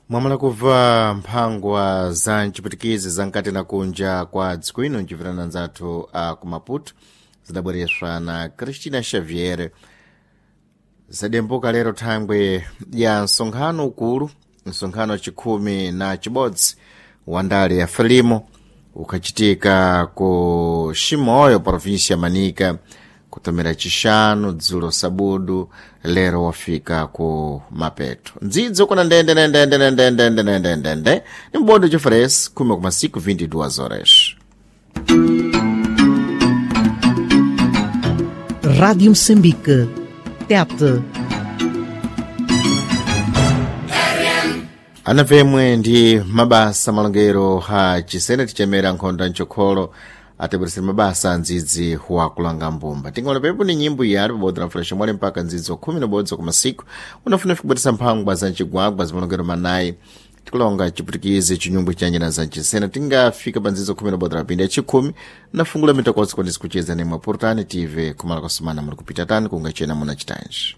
Mwamala kubva mphangwa za mchiputikizi za nkati na kunja kwa dziko ino mchipirana nzathu a ku Maputo zidabwereswa na Cristina Xavier. Zadembuka lero thangwe ya msonkhano ukulu, msonkhano wachikhumi na chibodzi wa ndale ya Frelimo ukhachitika ku Chimoio, província ya Manica, kutomera chixanu dzulo sabudu lero wafika ku Mapeto. Ndzidzo kuna ndende ndende ndende ndende ndende ndende ni mbondo chifresi 10,5 22 horas. Rádio Moçambique. Tete. Anapemwe ndi mabasa malongero ha chisene tichemera nkhondo ya mchokholo atibweresera mabasa a ndzidzi wa kulanga mbumba. Tingaona pepo ni nyimbo yali pabodzi na fresh mwale mpaka ndzidzi wa khumi na ubodzi kwa masiku unafuna kubweresa mphangwa za mchigwagwa zimalongero manayi tikulonga chiputikizi chinyungwe cha nyina za mchisena tingafika pa ndzidzo khumi na ubodzi rapindi yachikhumi nafungula mitakosi kwandisi kucheza nemwe purutani tive kumala kwasumana muli kupita tani kungachena muna chitanji.